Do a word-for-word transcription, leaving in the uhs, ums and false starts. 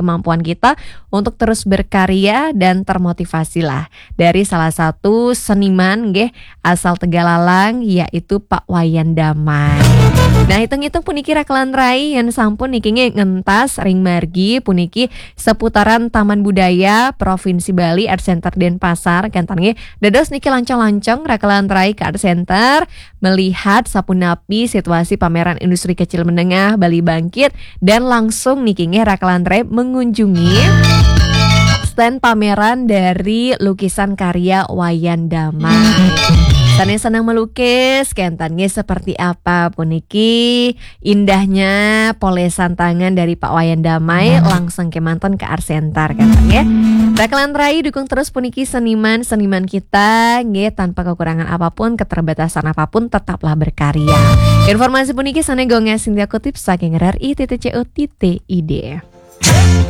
kemampuan kita untuk terus berkarya dan termotivasilah dari salah satu seniman nggih asal Tegalalang, yaitu Pak Wayan Damai. Nah, hitung-hitung puniki rakelan rai yen sampun niki nggih ngentas ring margi puniki seputaran Taman Budaya Provinsi Bali, Art Center Denpasar, kenten nggih dados niki lancang-lancang rakelan rai ke Art Center melihat sapunapi situasi pameran industri kecil menengah Bali Bangkit, dan langsung niki nggih rakelan rai mengunjungi stand pameran dari lukisan karya Wayan Damai. Sane senang melukis, kenten nggih seperti apa puniki indahnya polesan tangan dari Pak Wayan Damai, langsung kemanten ke Art Center, kenten nggih. Rakelan rai, dukung terus puniki seniman-seniman kita nggih, tanpa kekurangan apapun, keterbatasan apapun, tetaplah berkarya. Informasi puniki sane Gung Sintia kutip saking R R I titik C O titik I D.